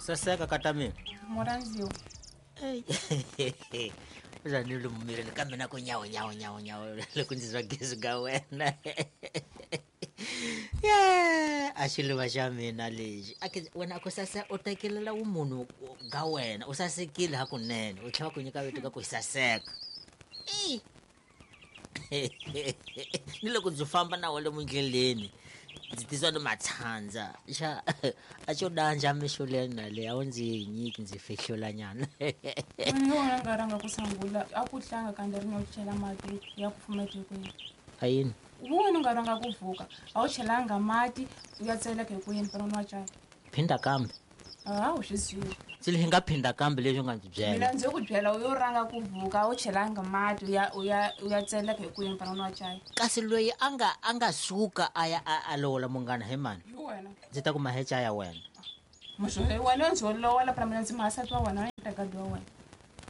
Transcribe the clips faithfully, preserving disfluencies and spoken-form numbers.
Saseka ka ta mina. Murhandziwa. Uza ni lomu mirini ka mina ku nyawo nyawo nyawo nyawo loko ndzi twa gezi ka wena. Yeah, a xiluva xa mina lexi. A ke wena a ku sase u tekelela vumunhu ga wena, u sasekile hakunene, u tlhela ku nyika vito ka ku saseka. I. Ni loko ndzi famba na wena mundleleni, ndzi titwa ni matshandza. Xa a xo danja mixo leyi na leyi a wu ndzi nyiki ndzi fihlula nyana. Wena wena nga rhanga ku sungula a ku tlanga kandza ri no chela mati ya kufumela etikweni. A yini? Wena nga rhanga ku vuka a wu chelanga mati ya tseleka hi ku yini para nwa chaya. Phinda kambe. A wu swi zivi. Swi hi nga phinda kambe leswi nga ndzi byela. Mina ndzi ku byela u yo rhanga ku vuka a wu chelanga mati ya u ya u ya tseleka hi ku yini para nwa chaya. Kasi loyi a nga a nga suka a ya a lovola munghana hi mani? Hi wena. Ndzi ta ku mahecha ya wena. Muxo wena ndzi lovola para mina ndzi mahasati wa wena na gadi wa wena.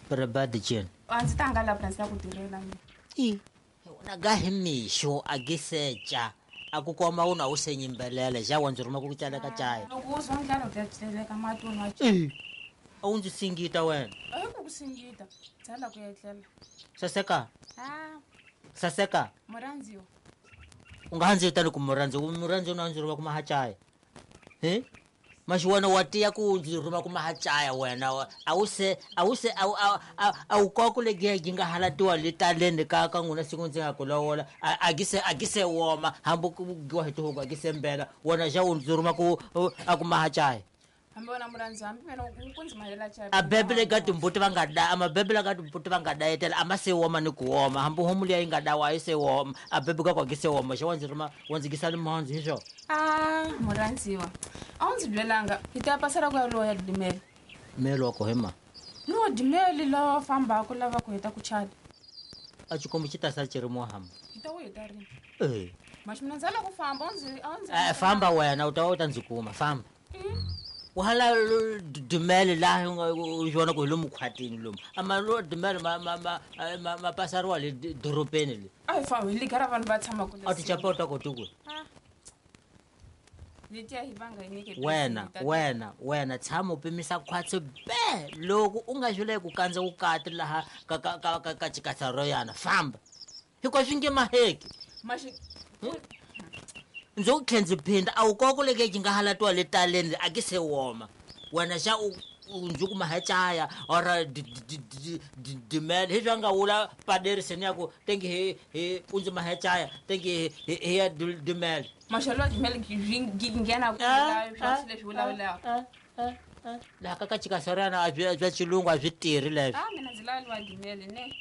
Para badi jeni. A ndzi ta nga la para ndzi ta ku tirhela mina. I. Wena ga hi mixo a giseca. A ku koma u na u se nyimbelela xa wa ndzi rhuma ku tseleka chaya. Loko u zwa ndlala u ta tseleka mati u nwa chaya. A wu ndzi singita wena. A hi ku ku singita. Tsala ku etlela. Saseka. Ah. Saseka. Murhandziwa. U nga ndzi vitani ku murhandziwa, murhandziwa na ndzi rhuma ku mahachaya. He? Maxi wena wa tiya ku ndzi rhuma ku mahachaya wena. A wu se a wu se a a wu koku le gi nga halatiwa le taleni ka ka n'wina siku ndzi nga ku lovola. A gi se a gi se woma hambi ku giwa hi tihuku a gi se mbela. Wena xa u ndzi rhuma ku a ku mahachaya. Hambi wena murhandziwa hambi mina u ku ndzi mahela chaya. A bebele ka timbuti va nga da a mabebele ka timbuti va nga dayetela a ma se woma ni ku woma hambi homu liya yi nga dawa a yi se woma a bebe ka kwa gi se woma xa wa ndzi rhuma wa ndzi gisa limhandzu hi swona. Ah murhandziwa. A wu ndzi byelanga hi ta pasela ku ya loya dimele. Mele wa ko hi ma? No dimele lava fambaka lava ku heta ku chada. A xikombo xi ta sala xi ri muhamba. Hi ta wu heta rini? Eh. Maxi mina ndzi lava ku famba u ndzi a ndzi. Eh famba wena u ta u ta ndzi kuma famba. Wahala dumele la u vona ku hi lomu khwatini lomu. Ama lo dumele ma ma ma ma pasariwa le dorobeni le. A hi fambi hi ligara vanhu va tshama kule. A ti chapa u ta koti ku. Wena wena wena tshama u pimisa khwatsi be loko u nga xule ku kandza vukati laha ka ka ka ka chikatsa ro yana famba. Hikuva swi nge maheki. Maxi ndzi ku tlhe ndzi phinda a wu koko leke yi nga halatiwa le taleni a gi se woma. Wena xa u ndzi ku mahachaya or dimele hi swa nga wula paderiseni ya ku tengi hi hi u ndzi mahachaya tengi hi ya dimele. Maxelo ya dimele gi nghena ku la swa leswi vulavulaka. Laha ka ka chikasarana a byi bya xilungu a byi tirhi leswi. Ah mina ndzi lava liwa dimele ne.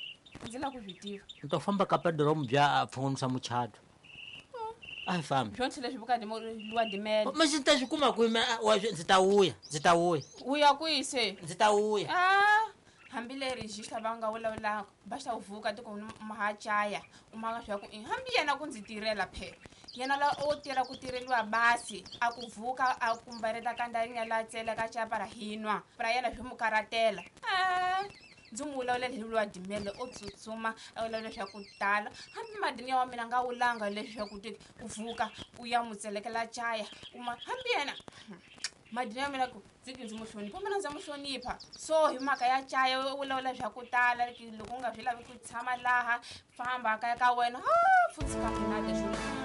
Ndzi lava ku swi tiva. Ni to famba ka pedromu bya a pfunisa muchato. A hi fambi. Swo leswi vukati mo liwa dimele. Maxi ta swi kuma kwihi wa ndzi ta wuya, ndzi ta wuya. Wuya kwihi se? Ndzi ta wuya. Ah, hambi leri xi va nga vulavulaka va xa vuka tiko mahachaya u maka swa ku hambi yena ku ndzi tirhela phe. Yena la o tirha ku tirheliwa basi a ku vuka a kumbareta kandza la tsela ka chapa ra hinwa. Pra yena swi mu karatela. Ah. Ndzi mu vulavula hi lwa dimele o tsutsuma a vulavula swa ku tala hambi madini ya wa mina nga wulanga leswaku ti u vuka u ya mu tselekela chaya uma hambi yena madini ya mina ku ndzi ndzi mu hlonipha mina ndza mu hlonipha so hi mhaka ya chaya u vulavula swa ku tala loko u nga swi lavi ku tshama laha famba kaya ka wena ha futhi ka mina leswi.